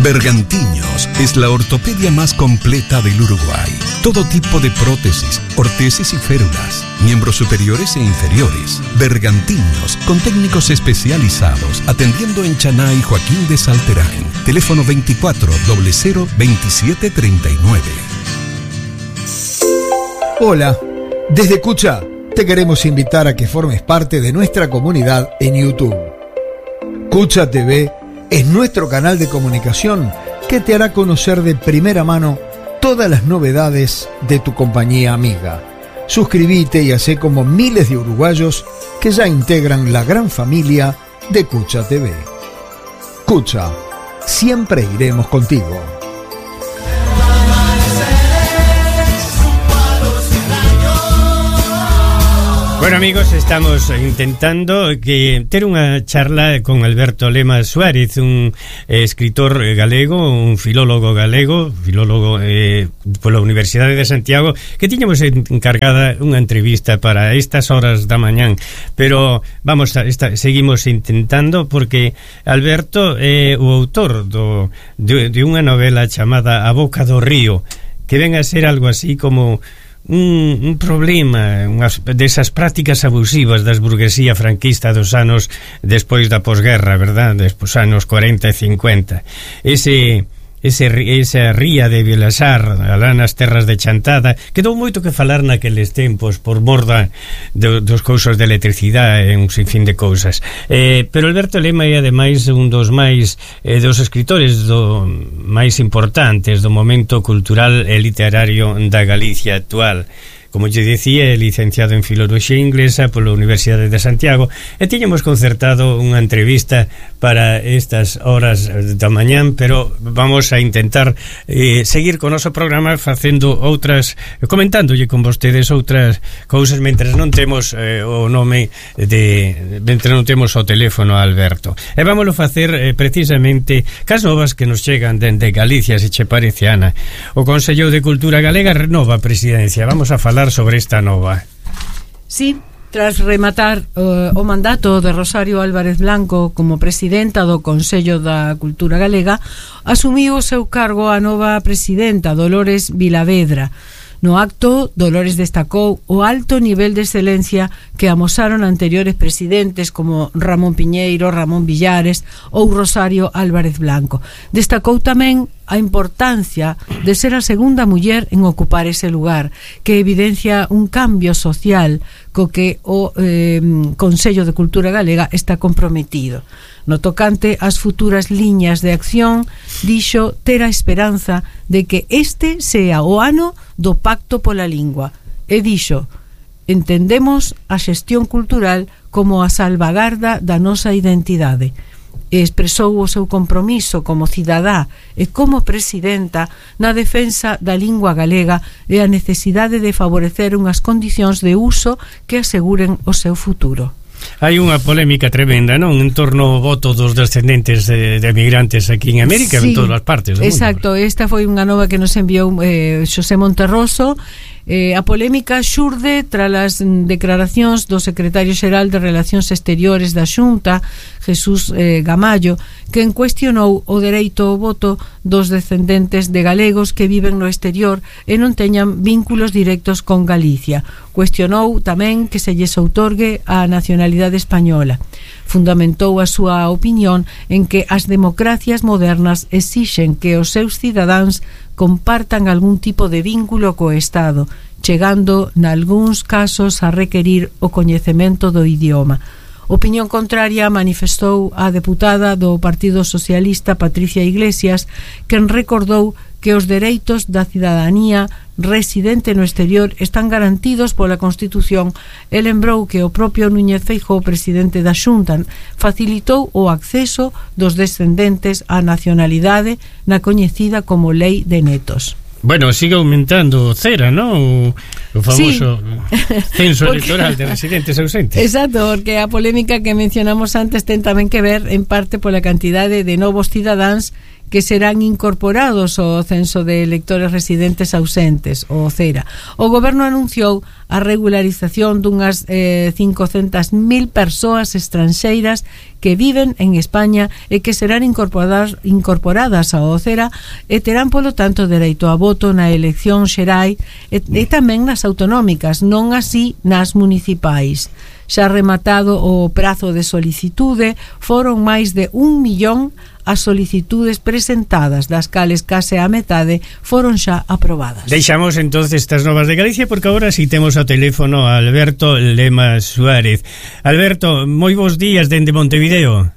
Bergantiños es la ortopedia más completa del Uruguay. Todo tipo de prótesis, ortesis y férulas, miembros superiores e inferiores. Bergantiños, con técnicos especializados, atendiendo en Chaná y Joaquín de Salterain. Teléfono 24 00 27 39. Hola, desde Cucha te queremos invitar a que formes parte de nuestra comunidad en YouTube. Cucha TV es nuestro canal de comunicación que te hará conocer de primera mano todas las novedades de tu compañía amiga. Suscríbete y hacé como miles de uruguayos que ya integran la gran familia de Cucha TV. Cucha, siempre iremos contigo. Bueno, amigos, estamos intentando ter unha charla con Alberto Lema Suárez, un escritor galego, un filólogo galego, pola Universidade de Santiago, que tiñamos encargada unha entrevista para estas horas da mañán, pero seguimos intentando porque Alberto é o autor de unha novela chamada A Boca do Río, que ven a ser algo así como un problema desas prácticas abusivas das burguesía franquista dos anos despois da posguerra, verdad? Despois anos 40 e 50. Esa ría de Vilasar alá nas terras de Chantada quedou moito que falar naqueles tempos por mor dos cousas de electricidade e un sinfín de cousas, pero Alberto Lema é ademais un dos escritores máis importantes do momento cultural e literario da Galicia actual. Como lle dicía, é licenciado en Filoloxía Inglesa pola Universidade de Santiago e tiñamos concertado unha entrevista para estas horas da mañán, pero vamos a intentar seguir con o noso programa comentándolle con vostedes outras cousas mentre non temos o nome mentre non temos o teléfono a Alberto. E vámoslo facer precisamente cas novas que nos chegan dende Galicia, se che parece, Ana. O Consello de Cultura Galega renova a presidencia. Vamos a falar sobre esta nova. Sí, tras rematar o mandato de Rosario Álvarez Blanco como presidenta do Consello da Cultura Galega, asumiu o seu cargo a nova presidenta Dolores Vilavedra. No acto, Dolores destacou o alto nivel de excelencia que amosaron anteriores presidentes como Ramón Piñeiro, Ramón Villares ou Rosario Álvarez Blanco. Destacou tamén a importancia de ser a segunda muller en ocupar ese lugar, que evidencia un cambio social co que o Consello de Cultura Galega está comprometido. No tocante ás futuras liñas de acción, dixo ter a esperanza de que este sea o ano do Pacto pola Lingua. E dixo: entendemos a xestión cultural como a salvagarda da nosa identidade. E expresou o seu compromiso como cidadá e como presidenta na defensa da lingua galega e a necesidade de favorecer unhas condicións de uso que aseguren o seu futuro. Hai unha polémica tremenda, non? En torno ao voto dos descendentes de emigrantes aquí en América, sí, en todas as partes do mundo. Exacto, esta foi unha nova que nos enviou Xosé Monterroso. A polémica xurde tras as declaracións do secretario xeral de Relacións Exteriores da Xunta, Jesús Gamallo, que cuestionou o dereito ao voto dos descendentes de galegos que viven no exterior e non teñan vínculos directos con Galicia. Cuestionou tamén que se lles outorgue a nacionalidade española. Fundamentou a súa opinión en que as democracias modernas exixen que os seus cidadáns compartan algún tipo de vínculo co Estado, chegando nalgúns casos a requerir o coñecemento do idioma. Opinión contraria manifestou a deputada do Partido Socialista Patricia Iglesias, quen recordou que os dereitos da cidadanía residente no exterior están garantidos pola Constitución e lembrou que o propio Núñez Feijóo, presidente da Xunta, facilitou o acceso dos descendentes á nacionalidade na coñecida como Lei de Netos. Bueno, sigue aumentando cera, ¿no? O famoso censo electoral de residentes ausentes. Exacto, porque a polémica que mencionamos antes ten tamén que ver en parte pola cantidade de novos cidadáns que serán incorporados ao censo de electores residentes ausentes, o CERA. O goberno anunciou a regularización dunhas 500.000 persoas estranxeiras que viven en España e que serán incorporadas ao CERA e terán, polo tanto, dereito a voto na elección xerai e tamén nas autonómicas, non así nas municipais. Xa rematado o prazo de solicitude, foron máis de 1 millón as solicitudes presentadas, das cales case a metade foron xa aprobadas. Deixamos entonces estas novas de Galicia, porque agora si temos ao teléfono a Alberto Lema Suárez. Alberto, moi bons días dende Montevideo.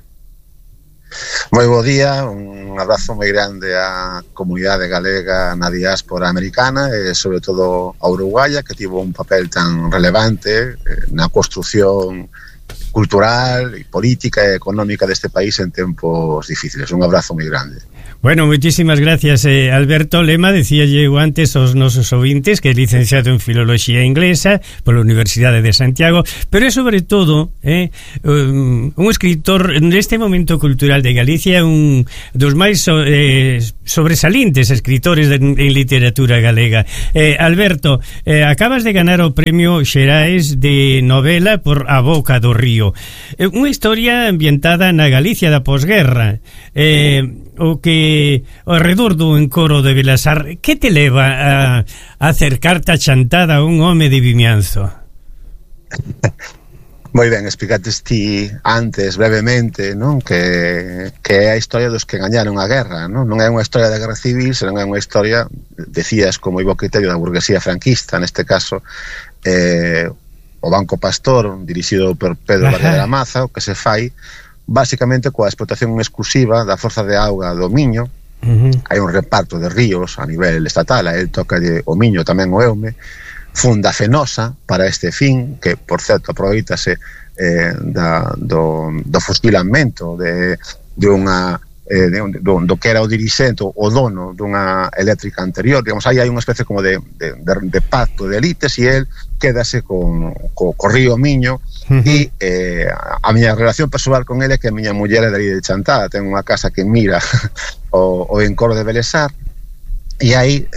Moi bo día, un abrazo moi grande á comunidade galega na diáspora americana e sobre todo a uruguaya, que tivo un papel tan relevante na construción cultural e política e económica deste país en tempos difíciles. Un abrazo moi grande. Bueno, moitísimas gracias, Alberto Lema. Decía eu antes aos nosos ouvintes que é licenciado en Filoloxía Inglesa pola Universidade de Santiago, pero é sobre todo un escritor neste momento cultural de Galicia, un dos máis sobresalientes escritores en literatura galega. Alberto, acabas de ganar o premio Xerais de novela por A Boca do Río, unha historia ambientada na Galicia da posguerra, o que ao redor do encoro de Vilasar. Que te leva a acercarte a chantada a un home de Vimianzo? Moi ben, explicates ti antes brevemente, non? Que é a historia dos que gañaron a guerra, non? Non é unha historia da guerra civil, senón é unha historia, decías, como ibo criterio da burguesía franquista, neste caso o Banco Pastor, dirixido por Pedro Varela de la Maza, o que se fai basicamente coa explotación exclusiva da forza de auga do Miño. Hai un reparto de ríos a nivel estatal, a él toca o Miño, tamén o Eume, funda Fenosa para este fin, que por certo aproveitase do fustilamento de unha do que era o dirixente, o dono dunha eléctrica anterior. Digamos, aí hai unha especie como de pacto de elites e el quédase co río Miño. E a miña relación persoal con ele é que a miña muller é de Chantada, ten unha casa que mira o encoro de Belesar, e aí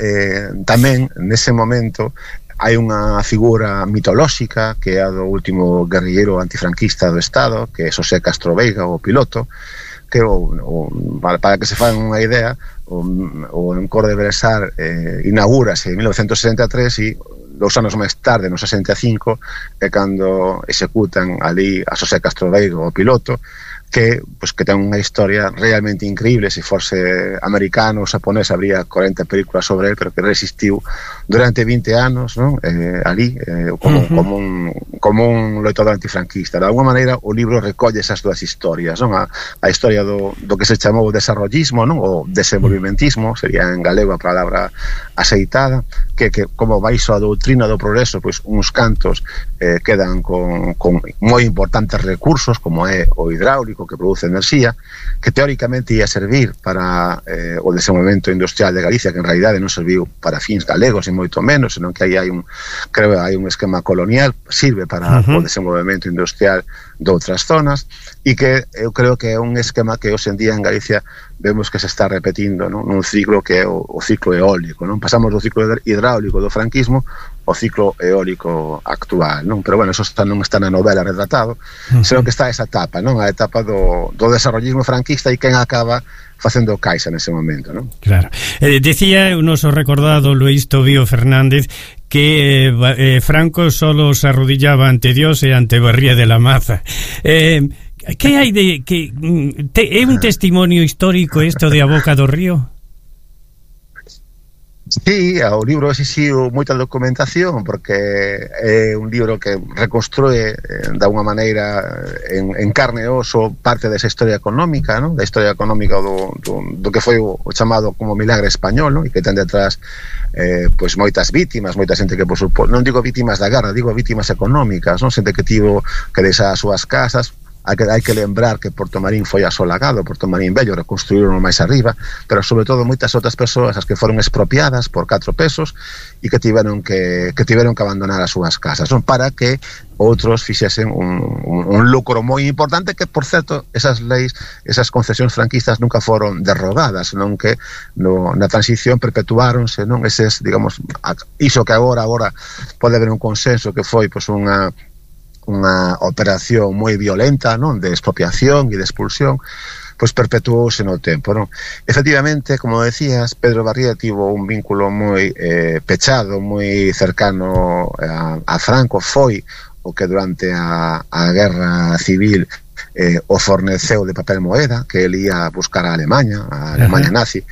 tamén nese momento hai unha figura mitolóxica que é a do último guerrilleiro antifranquista do Estado, que é Xosé Castro Veiga, o piloto, que para que se fan unha idea, o encoro de Belesar inaugúrase en 1963 e 2 anos máis tarde, no 65, é cando executan ali a Xosé Castro Veiga, o piloto, que ten unha historia realmente increíble. Se forse americano ou japonés habría 40 películas sobre él, pero que resistiu durante 20 anos, non? Ali como un loitador antifranquista. De alguma maneira o libro recolle esas dúas historias, non? A historia do que se chamou o desarrollismo, non? O desenvolvimentismo, sería en galego a palabra aceitada, que como baixo a doutrina do progreso, pois uns cantos quedan con moi importantes recursos, como é o hidráulico, que produce enerxía, que teóricamente ia servir para o desenvolvemento industrial de Galicia, que en realidade non serviu para fins galegos, e moito menos, senón que aí hai un esquema colonial, sirve para o desenvolvemento industrial de outras zonas, e que eu creo que é un esquema que hoxe en día en Galicia vemos que se está repetindo, non? Nun ciclo que é o ciclo eólico, non? Pasamos do ciclo hidráulico do franquismo ao ciclo eólico actual, non? Pero bueno, eso non está na novela retratado, senón que está esa etapa, non? A etapa do desarrollismo franquista, e quen acaba facendo caixa nese momento, non? Claro. Decía o noso recordado Luis Tobío Fernández que Franco solo se arrodillaba ante Dios e ante Barría de la Maza. Que hai de que é un testimonio histórico isto de A Boca do Río? Sí, o libro exixiu moita documentación, porque é un libro que reconstrue de alguna maneira en carne e oso parte desa historia económica, non? Da historia económica do que foi o chamado como milagre español, non? E que ten detrás pois moitas vítimas, moita xente que por suposto, non digo vítimas da guerra, digo vítimas económicas, non? Xente que tivo que deixar as súas casas hai que lembrar que Porto Marín foi asolagado, Porto Marín Vello reconstruíron máis arriba, pero sobre todo moitas outras persoas as que foron expropiadas por 4 pesos e que tiveron que abandonar as súas casas, non, para que outros fixesen un lucro moi importante, que por certo esas leis, esas concesións franquistas nunca foron derrogadas, non, que na transición perpetuáronse, non, eses, digamos, iso que agora pode haber un consenso que foi pois unha operación moi violenta, non, de expropiación e de expulsión, pois perpetuouse no tempo, non? Efectivamente, como decías, Pedro Barrié tivo un vínculo moi pechado, moi cercano a Franco, foi o que durante a guerra civil o forneceu de papel moeda que ele ia buscar a Alemanha nazi.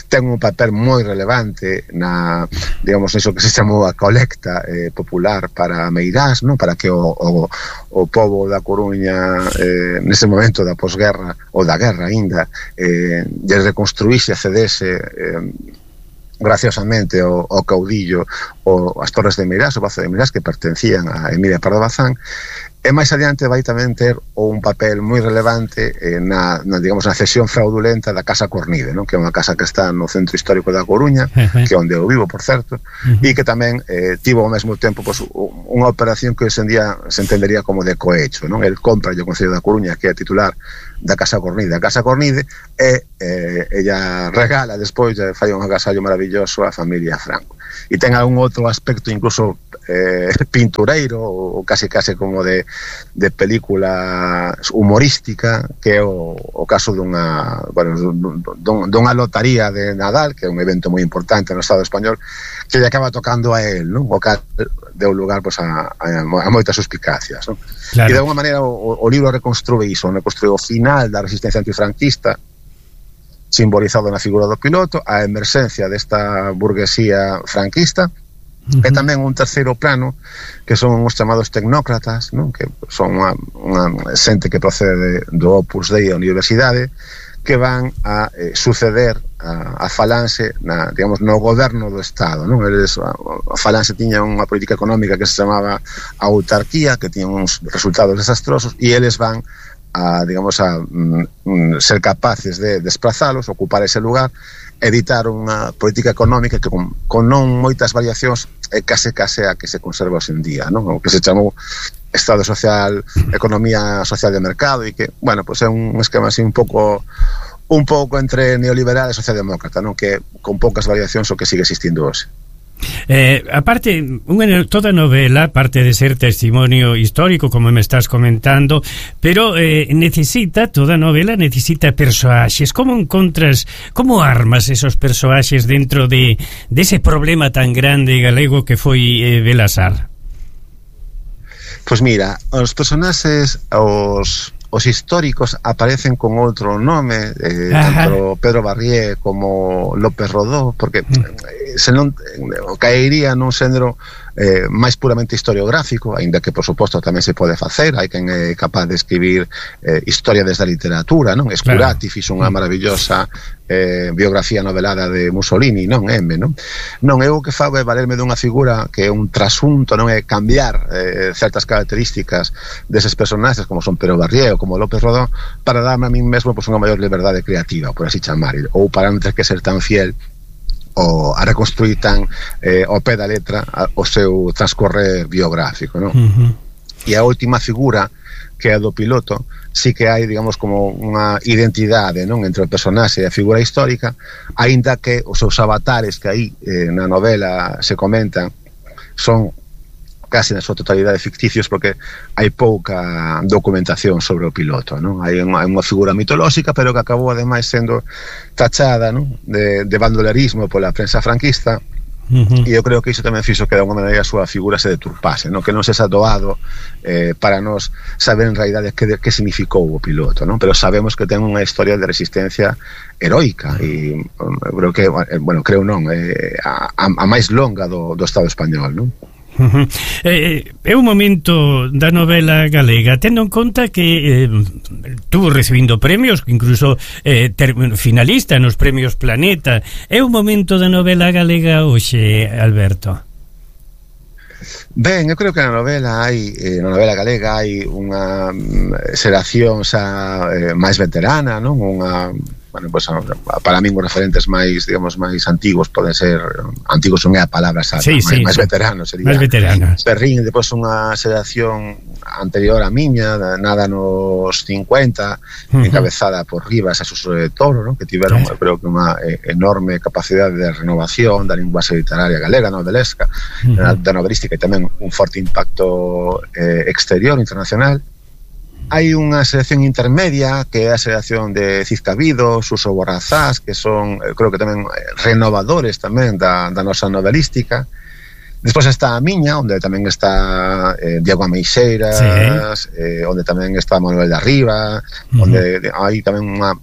Ten un papel moi relevante na, digamos, iso que se chamou a colecta popular para Meirás, non, para que o pobo da Coruña nese momento da posguerra ou da guerra aínda lle reconstruíse e cedese graciosamente o caudillo as Torres de Meirás, o Pazo de Meirás, que pertencían a Emilia Pardo Bazán. E máis adiante vai tamén ter un papel moi relevante na digamos, na cesión fraudulenta da Casa Cornide, non? Que é unha casa que está no centro histórico da Coruña, que é onde eu vivo, por certo, e que tamén tivo ao mesmo tempo pois, unha operación que hoxe en día se entendería como de cohecho, non? El compra o Concello da Coruña, que é titular da Casa Cornide. A Casa Cornide ella regala despois, fai un agasallo maravilloso á familia Franco. E ten algún outro aspecto incluso pintureiro ou case como de película humorística, que é o caso dunha lotaría de Nadal, que é un evento moi importante no Estado español, que lle acaba tocando a él, non? O cal deu lugar pues, a moitas suspicacias, non? Claro. E de alguma maneira o libro reconstrue iso, reconstrue o final da resistencia antifranquista, simbolizado na figura do piloto, a emerxencia desta burguesía franquista, e tamén un terceiro plano que son os chamados tecnócratas, non? Que son unha xente que procede do Opus Dei da universidade, que van a suceder a Falanxe digamos, no goberno do Estado, non? A Falanxe tiña unha política económica que se chamaba autarquía, que tiña uns resultados desastrosos, e eles van a ser capaces de desplazalos, ocupar ese lugar, editar unha política económica que con non moitas variacións case a que se conserva hoxe en día, non? O que se chamou Estado Social, Economía Social de Mercado, e que, bueno, pues é un esquema así un pouco entre neoliberal e socialdemócrata, non? Que con poucas variacións o que sigue existindo hoxe. Aparte, toda novela, aparte de ser testimonio histórico, como me estás comentando, pero toda novela necesita persoaxes. Como armas esos persoaxes dentro de ese problema tan grande galego que foi Belasar? Pois mira, os personaxes, os históricos aparecen con outro nome, tanto Pedro Barrié como López Rodó, porque senón caería nun xénero máis puramente historiográfico, aínda que por suposto tamén se pode facer. Hai quen é capaz de escribir historia desde a literatura, non? Escurati fixo unha maravillosa biografía novelada de Mussolini, non? Non, eu o que fago é valerme dunha figura que é un trasunto, non é cambiar certas características deses personaxes como son Pedro Barrié ou como López Rodó, para darme a mí mesmo pues, unha maior liberdade creativa, por así chamar, ou para non ter que ser tan fiel a reconstruir tan ao pé da letra o seu transcorrer biográfico, non? E a última figura, que é a do piloto, sí que hai, digamos, como unha identidade, non, entre o personaxe e a figura histórica, aínda que os seus avatares que aí na novela se comentan son casi na súa totalidade ficticios, porque hai pouca documentación sobre o piloto, non? Hai unha figura mitolóxica, pero que acabou ademais sendo tachada, non? de bandolerismo pola prensa franquista, e eu creo que iso tamén fixo que de alguma maneira a súa figura se deturpase, non? Que non se xa doado para nos saber en realidade que significou o piloto, non? Pero sabemos que ten unha historia de resistencia heroica, e creo que, creo non, a máis longa do Estado español, non? É un momento da novela galega, tendo en conta que estuvo recibindo premios, incluso finalista nos premios Planeta. É un momento da novela galega hoxe, Alberto? Ben, eu creo que na novela galega hai unha xeración xa máis veterana, non? Bueno, pues, para min os referentes máis, digamos, máis antigos poden ser, antigos son a palabra xa, máis veteranos sería. Máis veteranos. Perrín, depois unha xeración anterior a miña, nada nos 50, encabezada por Rivas e Suso de Toro, ¿no? Que tiveron, eu creo que unha enorme capacidade de renovación da linguaxe literaria galega, novelesca, da novelística, e tamén un forte impacto exterior, internacional. Hai unha selección intermedia que é a selección de Cid Cabido, Suso Borrazás, que son, creo que tamén renovadores tamén da nosa novelística. Despois está a miña, onde tamén está Diego Ameixeiras, onde tamén está Manuel de Arriba, onde hai tamén unha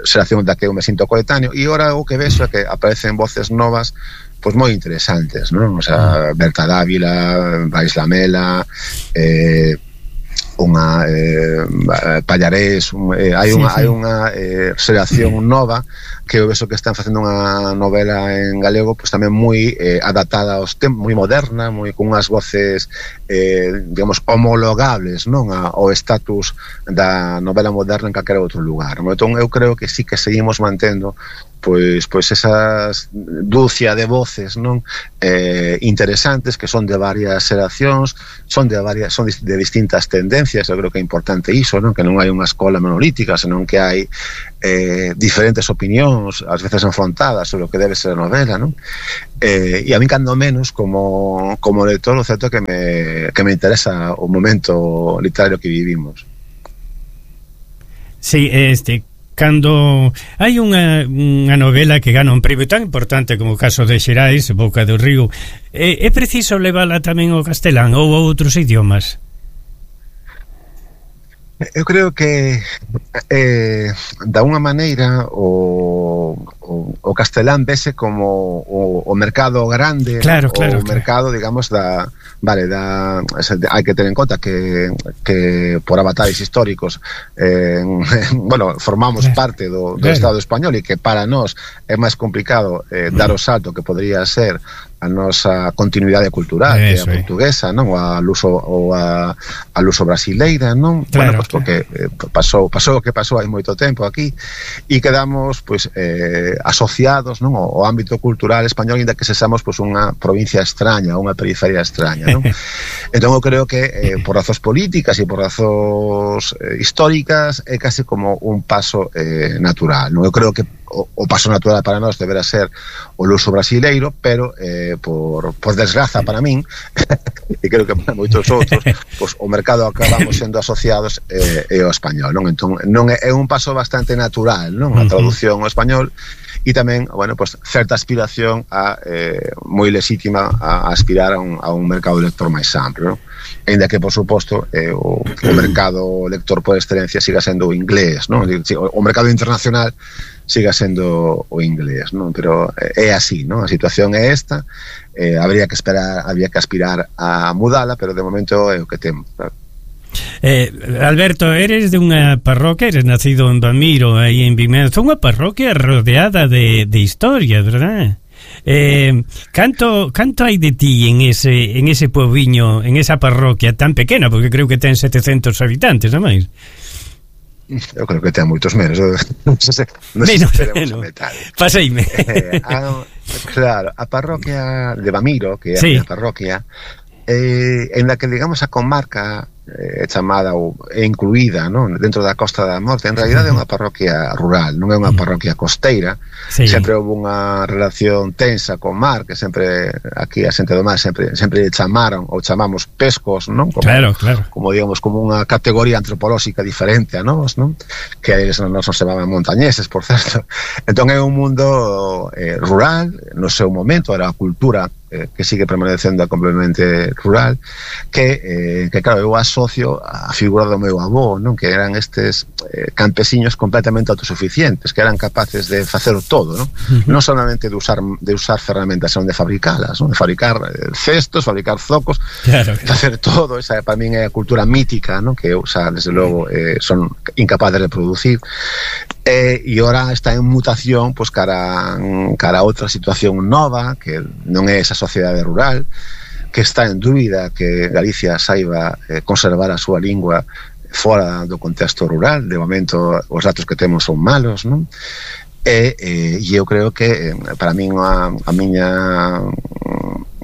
selección da que eu me sinto coetáneo, e ora o que vexo é que aparecen voces novas pois moi interesantes, non? O sea, Berta Dávila, Vais Lamela, unha Pallarés, hai unha xeración nova que eu vexo que están facendo unha novela en galego pois tamén moi adaptada aos tempos, moi moderna, moi con unhas voces digamos homologables, non, ao estatus da novela moderna en calquera outro lugar. Entón eu creo que sí que seguimos mantendo pois esas dúcia de voces, non, interesantes, que son de varias xeracións, son de distintas tendencias. Eu creo que é importante iso, non, que non hai unha escola monolítica, senón que hai diferentes opinións, ás veces enfrontadas sobre o que debe ser a novela, non? E a mí, cando menos, como lector, o certo é que me interesa o momento literario que vivimos. Sí, cando hai unha novela que gana un premio tan importante como o caso de Xerais, Boca do Río, é preciso levala tamén ao castelán ou a outros idiomas? Eu creo que da unha maneira o castelán vese como o mercado grande, claro, o mercado, digamos, hai que ter en conta que por avatares históricos bueno, formamos parte do Estado español, e que para nós é máis complicado dar o salto que podría ser a nosa continuidade cultural, que é a portuguesa, non, ou a luso brasileira, non? Claro, bueno, pues porque pasou o que pasou hai moito tempo aquí, e quedamos pois asociados, non, ao ámbito cultural español, ainda que sexamos pois unha provincia extraña, unha periferia extraña, non? Entón eu creo que por razóns políticas e por razóns históricas é casi como un paso natural, non? Eu creo que o paso natural para nós deberá ser o luso brasileiro, pero por desgraza para min e creo que para moitos outros, pois o mercado acabamos sendo asociados ao español, non? Entón non é un paso bastante natural, non? A traducción ao español, e tamén, bueno, pues certa aspiración moi lexítima a aspirar a un mercado lector máis amplo, non? Ainda que, por suposto, o mercado lector por excelencia siga sendo o inglés, non? O mercado internacional siga sendo o inglés, non? Pero é así, non? A situación é esta, habría que aspirar a mudala, pero de momento é o que temos, claro. Alberto, eres de unha parroquia, eres nacido en Bamiro, aí en Vimeza, unha parroquia rodeada de historia, verdad? Canto hai de ti en ese poboviño, en esa parroquia tan pequena, porque creo que ten 700 habitantes, non máis? Eu creo que ten moitos menos. Non sei a metade. Paseime. Claro, a parroquia de Bamiro, que é a minha parroquia, en la que, digamos, a comarca chamada ou é incluída, non, dentro da Costa da Morte, en realidad é unha parroquia rural, non é unha parroquia costeira. Sempre houve unha relación tensa con mar, que sempre aquí a xente do mar sempre chamaron ou chamamos pescos, non? Como digamos, como unha categoría antropolóxica diferente a nós, non? Que a eles nos chamaban montañeses, por certo. Entón é un mundo rural, no seu momento era a cultura que sigue permanecendo completamente rural, que claro, eu asocio a figura do meu avó, non? Que eran estes campesiños completamente autosuficientes, que eran capaces de facer todo, non? Non solamente de usar ferramentas, senón de fabricalas, non? De fabricar cestos, fabricar zocos, facer todo. Esa para min é a cultura mítica, non? Que eu, desde logo, son incapaz de reproducir. E ora está en mutación, pois cara a outra situación nova, que non é esa sociedade rural, que está en dúbida que Galicia saiba conservar a súa lingua fora do contexto rural. De momento os datos que temos son malos, non? E eu creo que para min a miña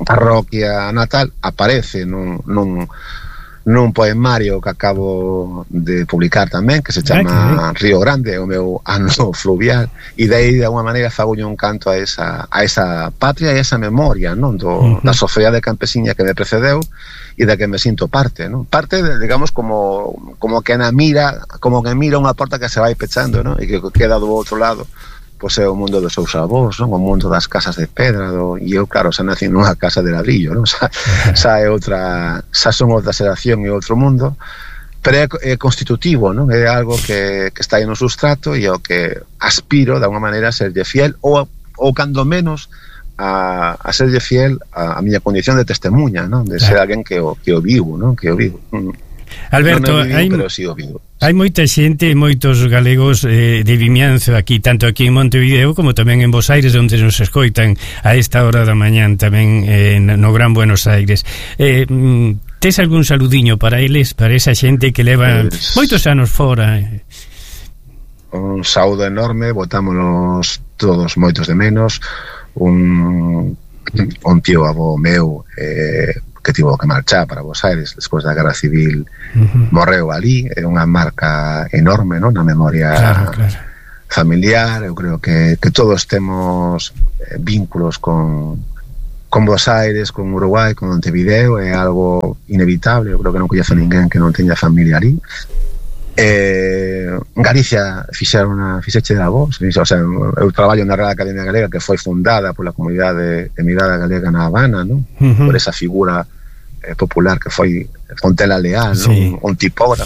parroquia natal aparece nun poemario que acabo de publicar tamén, que se chama Río Grande, o meu ano fluvial, e de aí de alguma maneira fagolle un canto a esa patria e a esa memoria, non, da sociedade campesiña que me precedeu e da que me sinto parte, non? Parte, digamos, como que mira unha porta que se vai pechando, non? E que queda do outro lado pois é o mundo dos seus avós, non? O mundo das casas de pedra, e eu, claro, xa nací nunha casa de ladrillo, non? Xa son outra xeración e outro mundo, pero é constitutivo, non? É algo que está aí no sustrato e o que aspiro, de alguma maneira, a serlle fiel, ou cando menos a serlle fiel a miña condición de testemunha, non? De ser alguén que o vivo, non? Que o vivo. Alberto, hai moita xente, moitos galegos de Vimianzo aquí, tanto aquí en Montevideo como tamén en Bos Aires, onde nos escoitan a esta hora da mañán tamén no Gran Buenos Aires. Tes algún saludiño para eles, para esa xente que leva moitos anos fora? Un saúdo enorme, botámonos todos moitos de menos. Un tío avó meu que tivo que marchar para Bos Aires despois da Guerra Civil, morreu ali. É unha marca enorme, non, na memoria familiar. Eu creo que todos temos vínculos con Bos Aires, con Uruguai, con Montevideo. É algo inevitable. Eu creo que non coñezo ninguén que non teña familia ali. Galicia fixeche da voz, o sea, eu traballo na Real Academia Galega, que foi fundada pola comunidade emigrada galega na Habana, non? Por esa figura popular que foi Fontela Leal, non? Un tipógrafo